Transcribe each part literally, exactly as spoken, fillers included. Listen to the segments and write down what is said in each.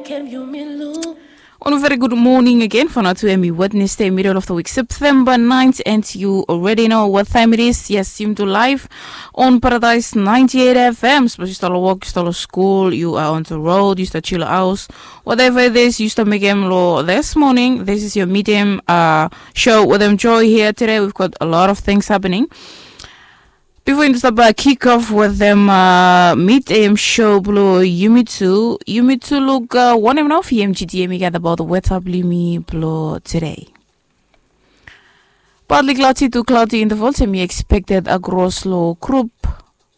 On a very good morning again for now to Emmy Wednesday, middle of the week, September ninth, and you already know what time it is. Yes, you do live on Paradise ninety-eight F M. Suppose you start work, you start school, you are on the road, you start chill house, whatever it is, you start make lo this morning. This is your medium uh, show with them joy here today. We've got a lot of things happening. Before you start uh, kick off with them uh, mid A M show blo Yumitu, Yumitu look uh, one of P M G T M got about the weather blimi blo today. Partly cloudy to cloudy intervals and we expected across lo group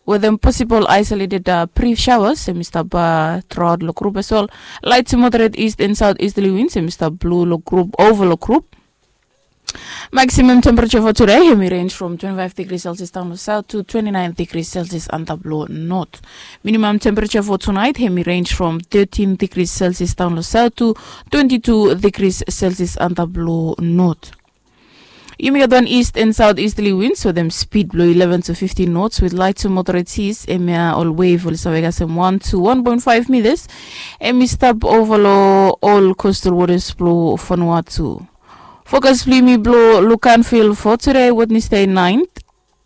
with them possible isolated uh, brief showers and we start uh, throughout lo group as well. Light to moderate east and southeasterly winds and we start blue lo group over lo group. Maximum temperature for today, hemi range from twenty-five degrees Celsius down south to twenty-nine degrees Celsius under blow north. Minimum temperature for tonight, hemi range from thirteen degrees Celsius down south to twenty-two degrees Celsius under blow north. Yumi gat one east and southeasterly winds with them speed blow eleven to fifteen knots with light to moderate seas. Emia all wave will survey us one to one point five meters. Emi stop over lo all coastal waters blow Vanuatu. Forecast blimi blo Lukanville for today, Wednesday ninth.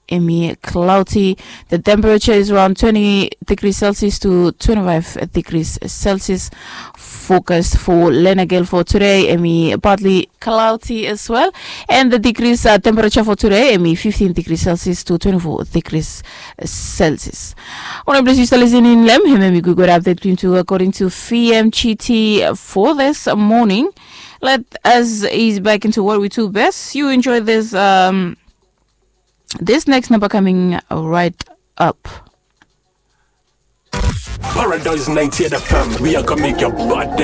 Emi cloudy. The temperature is around twenty degrees Celsius to twenty-five degrees Celsius. Forecast for Lenagel for today, emi partly cloudy as well. And the degrees uh, temperature for today, emi fifteen degrees Celsius to twenty-four degrees Celsius. One place you still listening, Lem, him and me good update to according to V M G T for this morning. Let us ease back into what we do best. You enjoy this um this next number coming right up. Paradise ninety-eight F M, we are gonna make your body